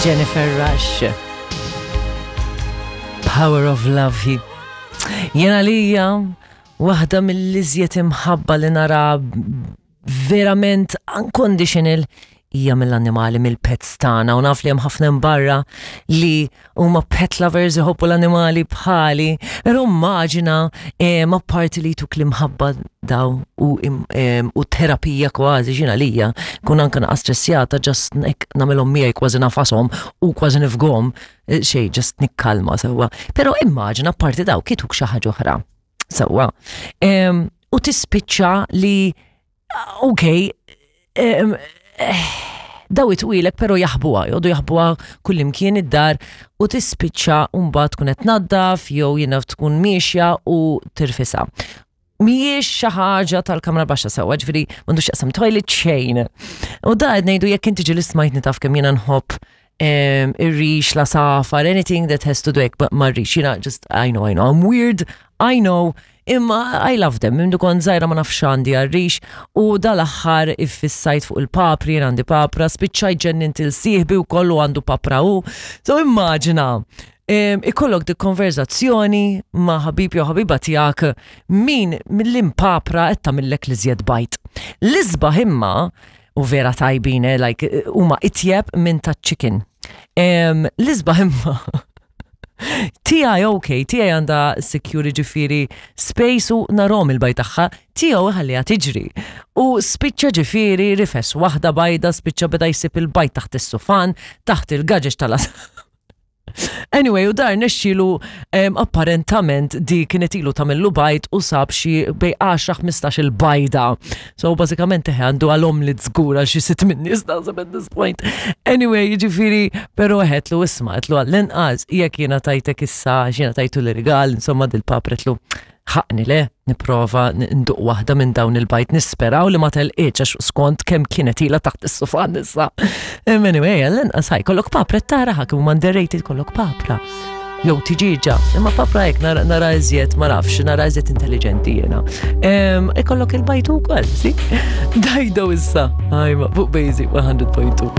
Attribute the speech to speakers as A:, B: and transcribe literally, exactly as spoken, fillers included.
A: Jennifer Rush. Power of Love hi. Jena lija waħda mill-iżjed imħabba li nara verament unconditional hija mill-annimali, mill-pets tagħna, u naf li hemm ħafna barra li huma pet lovers, iħobbu l-annimali bħali, però immaġina ma parti li tuk l-imħabba daw u, u terapija kważi ġina lija, kun anka naqas stressjata, just nagħmilhom miegħi, kważi nagħfashom u kważi nifgom, eh, xej, just nikkalma sewwa. Però immaġina parti daw kituk xi ħaġa oħra. Sewwa. U tispiċċa li ok, daw itwilek pero jaħbuha, joqogħdu jaħbuha kullimkien id-dar u tispiċċa mbagħad tkun qed tnaddaf jew jiena tkun miexja u tirfisha. Mhijiex xi ħaġa tal-kamra baxxa sewwa, ġifieri m'għandux jaqsam toilet xejn. U da qed ngħidu jekk inti ġieli smajtni, taf kemm jiena nħobb ir-rix, l-għasafar, anything that has to do mar-rix. Jiena just, I know, I know, I'm weird, I know, imma I love them. Mindu kont żgħira ma nafx għandi għar-rix u dal-aħħar iffissajt fuq il-papri, jien għandi papra, spiċċajt ġennint lil sieħbi u kollu għandu papra u. So immaġina, ikollok dik konverzazzjoni ma' ħabib jew ħabiba tiegħek min mill-impapra qed tagħmillek l-iżjed bajd. L-isbaħ imma u vera tajbin, eh, like huma itjeb minn ta' chicken. L-isbaħ imma tiegħi, ok, tiegħi għandha security, ġifieri space u narahom il-bajd tagħha, tiegħu ħalliha tiġri. U spiċċa ġifieri rifes waħda bajda, spiċċa beda jsib il-bajd taħt is-sufan, taħt il-gaġeġ tal. Anyway, u dar nexxilu apparentament di kienet ilu tagħmillu bajd u sab xi bejn għaxra ħmistax il-bajda. So bażikament eħe għandu għalhom li żgur għal xi sitt minn nies naħseb at this point. Anyway, jiġifieri, però għedtlu isma', għedtlu għall-inqas jekk jiena tajtek issa, jiena tajtu l-rigal, insomma dil-papra, għedtlu ħaqni le nipprova nduq waħda minn dawn il-bajd, nisperaw li ma telqitx għax skont kemm kienet ila taħt is-sufan issa. Anyway, għall-inqas ħaj, kollok papra tara ħak huma underrated, kollok papra. Jew tiġiġa, imma papra hekk nara, nara iżjed, ma nafx, nara iżjed intelligenti jiena. Ikollok il-bajd ukoll, si? Dajdo issa, għajma, fuq Basic one hundred point two.